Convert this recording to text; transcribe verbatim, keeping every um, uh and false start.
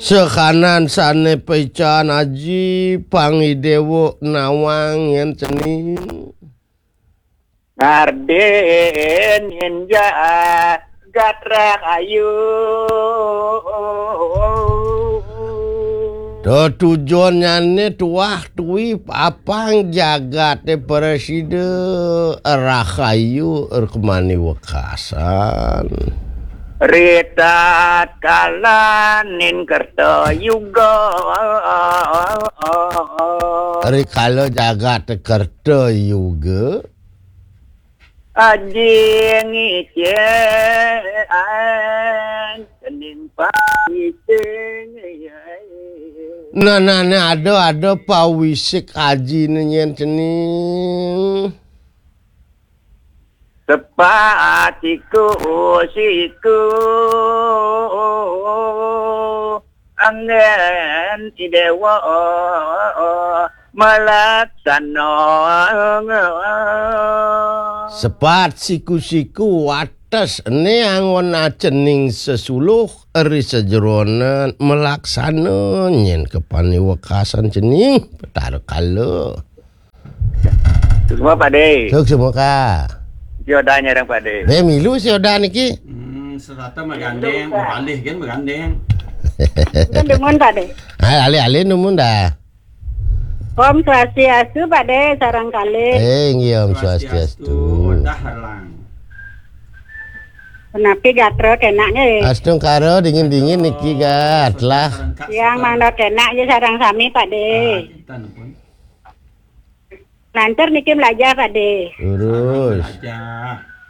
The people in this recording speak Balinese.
Sekanan sané paican aji, pangidéwa nawang yén cening. Ngardénin jagat rahayu. Tetujonnyané tuah tuwi apang jagaté prasida rahayu rukmani wekasan. Ritat kalaning kerta yuga. Rikala jagat kerta yuga. Aji ngicén cening pawisik. Nah, nah, nah, ada, ada pawisik aji nyen cening. Sepat siku-siku anggén idéwa malaksana. Sepat siku-siku wates né anggon acening sesuluh ri sajeroning malaksana nyen kepaniwekasan cening Betara Kala. Suksma, Pak Dé. Suksma, Ka. Sioda nyareng, Pak Dé. Bé milu sioda niki. Hmm, serata magandéng, beralih kan magandéng. Pun dumun, Pak Dé. Ah, alih-alih dumun dah. Om Swastiastu, Pak Dé, sareng kalih. Eh, inggih, Om Swastiastu. Swastiastu. Wantah halang. Punapi gatra kénak nggih? Astungkara dingin-dingin niki, Gat, lah. Yang mangda kénak nggih sareng sami, Pak Dé. Ah, kinten pun. Lancar niki mlajah, Pak Dé. Lurus. Mlajah.